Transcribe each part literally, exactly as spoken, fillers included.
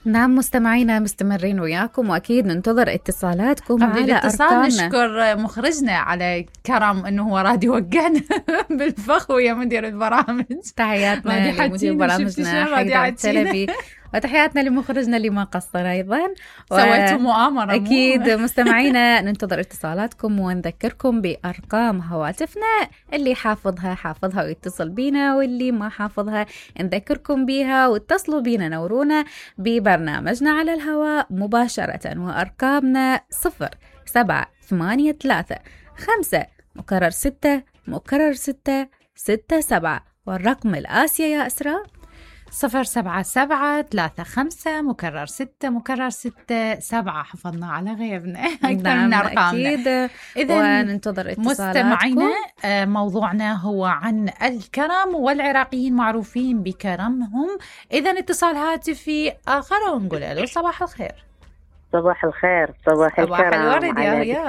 نعم مستمعينا مستمرين وياكم، وأكيد ننتظر اتصالاتكم قبل على الاتصال أرقامنا. نشكر مخرجنا على كرم أنه هو راد يوقعنا بالفخ ويا مدير البرامج. تحياتنا لمدير برامجنا حيدر التلبي، وتحياتنا لمخرجنا اللي ما قصر أيضا. سويتوا مؤامرة. أكيد مستمعينا ننتظر اتصالاتكم، ونذكركم بأرقام هواتفنا، اللي حافظها حافظها ويتصل بينا، واللي ما حافظها نذكركم بيها واتصلوا بينا نورونا ببرنامجنا على الهواء مباشرة. وأرقامنا صفر سبعة ثمانية ثلاثة خمسة مكرر ستة مكرر ستة ستة سبعة، والرقم الآسيا يا أسراء صفر سبعة سبعة ثلاثة خمسة مكرر ستة مكرر ستة سبعة. حفظنا على غيرنا أكثر من أرقامنا. إذا وننتظر اتصالاتكم. مستمعينا موضوعنا هو عن الكرم، والعراقيين معروفين بكرمهم. إذا اتصال هاتفي آخر ونقول له صباح الخير. صباح الخير. صباح الكرم الورد يا هيام.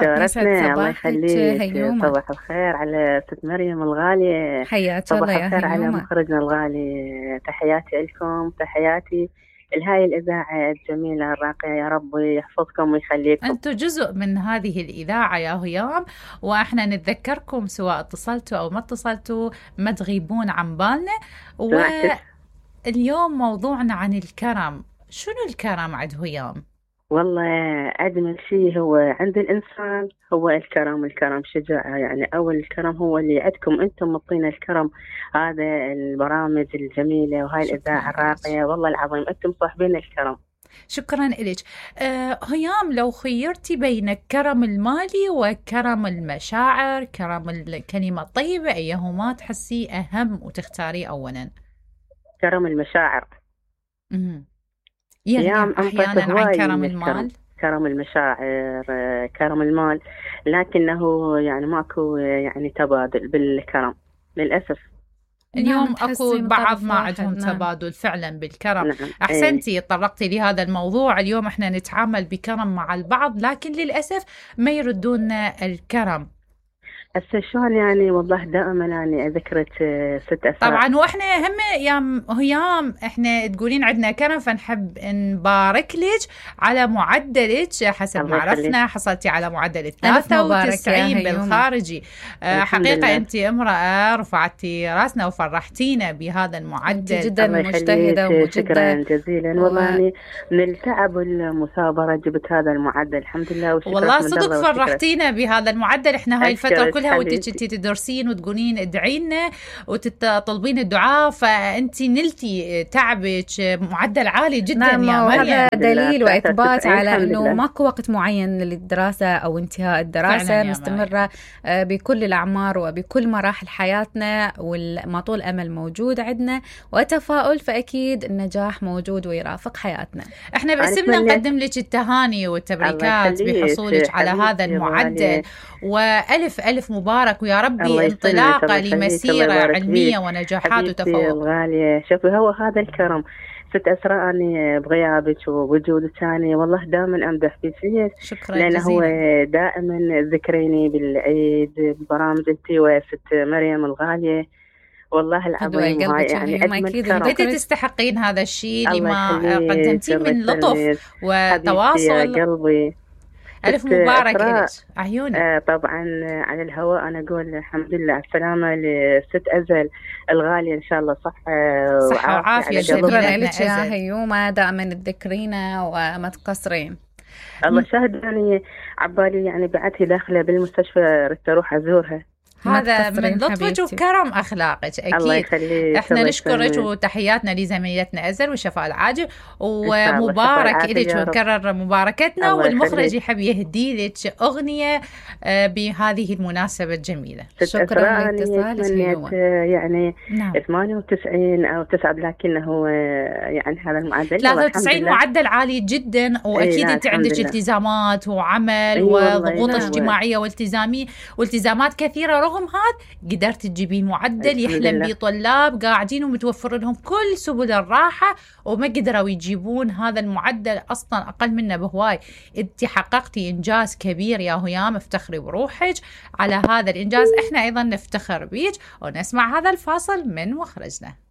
الله يخليك. صباح الخير على ست مريم الغالية. حياك الله يا هيام. صباح الخير على مخرجنا الغالي. تحياتي لكم، تحياتي لهاي الإذاعة الجميلة الراقية، يا رب يحفظكم ويخليكم. أنتم جزء من هذه الإذاعة يا هيام، وإحنا نتذكركم سواء اتصلتوا أو ما اتصلتوا، ما تغيبون عن بالنا. واليوم موضوعنا عن الكرم. شنو الكرم عند هيام؟ والله أجمل شيء هو عند الإنسان هو الكرم. الكرم شجاعة، يعني أول الكرم هو اللي عندكم أنتم مطينا الكرم. هذا البرامج الجميلة وهاي الإذاعة الراقية، والله العظيم أنتم صاحبين الكرم. شكرا إليك. أه هيام، لو خيرتي بين الكرم المالي وكرم المشاعر، كرم الكلمة الطيبة، أيهما تحسي أهم وتختاري أولا؟ كرم المشاعر. امم يعني أحيانا عن كرم المال. كرم المشاعر، كرم المال، لكنه يعني ماكو يعني تبادل بالكرم للأسف. اليوم نعم أكو بعض ما عندهم نعم. تبادل فعلا بالكرم. نعم. أحسنتي طرقتي لهذا الموضوع. اليوم احنا نتعامل بكرم مع البعض، لكن للأسف ما يردون الكرم. هسه شلون يعني؟ والله دائما أنا ذكرت ست أسرار. طبعا واحنا هم يا هيام احنا تقولين عندنا كرم، فنحب نبارك لك على معدلك. حسب ما عرفنا حصلتي على معدل ثلاثة وتسعين بالخارجي. حقيقة انت امرأة رفعتي راسنا وفرحتينا بهذا المعدل. جدا مجتهدة ومجدة. شكرا جزيلا. و... والله من التعب والمثابرة جبت هذا المعدل الحمد لله. والله صدق فرحتينا بهذا المعدل. احنا هاي الفترة كلها ودك انت تدرسين وتقولين ادعي لنا وتطلبين الدعاء، فانت نلتي تعبك معدل عالي جدا. نعم يا مريم. هذا دليل واثبات على انه ماكو وقت معين للدراسه او انتهاء الدراسه، مستمره بكل الاعمار وبكل مراحل حياتنا، وما طول امل موجود عندنا وتفاؤل، فاكيد النجاح موجود ويرافق حياتنا. احنا باسمنا نقدم لك التهاني والتبريكات بحصولك على هذا المعدل، والف الف مبارك، ويا ربي انطلاقه لمسيره علميه ونجاحات وتفوق. الغاليه شوفي هو هذا الكرم. ست أسرار أني بغيابك ووجودك ثاني والله دائما أمدح فيك. شكرا لأنه جزيلا. هو دائما ذكريني بالعيد ببرامج أنت وست مريم الغالية، والله العظيم هاي يعني أجمل كرم. أنت تستحقين هذا الشيء لما قدمتيه من لطف وتواصل. يا قلبي ألف مبارك لك عيوني. آه طبعا على الهواء أنا أقول الحمد لله السلامة لست أزل الغالية، إن شاء الله صحة صحة وعافية. شكرا لك يا هيومة، دائما تذكرينا وما تقصرين. الله شاهد يعني عبالي يعني بعدها داخلة بالمستشفى رحت أروح أزورها. هذا من لطفك وكرم أخلاقك أكيد. الله يخليك. إحنا نشكرك وتحياتنا لزميلتنا أزل والشفاء العاجل، ومبارك إليك ونكرر مباركتنا. والمخرج يحب يهدي لك أغنية بهذه المناسبة الجميلة. شكرا لاتصالك. يعني نعم. ثمانية وتسعين أو تسعة، لكنه يعني هذا المعدل ثلاثة وتسعين معدل عالي جدا، وأكيد أنت عندك التزامات وعمل وضغوط نعم. اجتماعية والتزامي والتزامات كثيرة. رغم هذا قدرت تجيبين معدل يحلم به طلاب قاعدين ومتوفر لهم كل سبل الراحة، وما قدروا يجيبون هذا المعدل أصلا أقل منه بهواي. انت حققتي إنجاز كبير يا هيام، افتخري بروحك على هذا الإنجاز. احنا أيضا نفتخر بيك، ونسمع هذا الفاصل من مخرجنا.